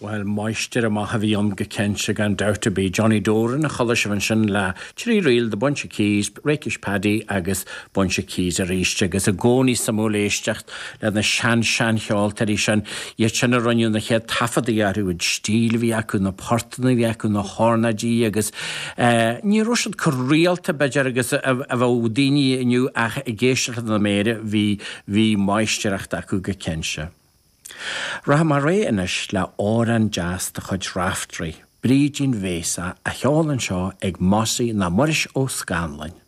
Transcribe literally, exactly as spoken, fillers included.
Well máistir amach a bhí ann go cinnte gan dabht ar bith Johnny Doran a chuala sibh ansin le trí ríl The Bunch of Keys, Rakish Paddy agus Bunch of Keys arís agus i gcónaí suimiúil éisteacht le na sean seancheoltóirí sin iad sin a rinne na chéad taifeadtaí orthu an stíl a bhí acu na portanna a bhí acu na hornáidí agus eh, ní raibh siad chomh rialta b'fhéidir agus a bheadh daoine inniu ach ag éisteacht na méire bhí bhí máistreacht acu go cinnte. Rachaidh mé ar aghaidh anois le amhrán deas de chuid Raftery, Brídín Bhéasach a cheol anseo ag Mossy ná Muiris Ó Scanláin.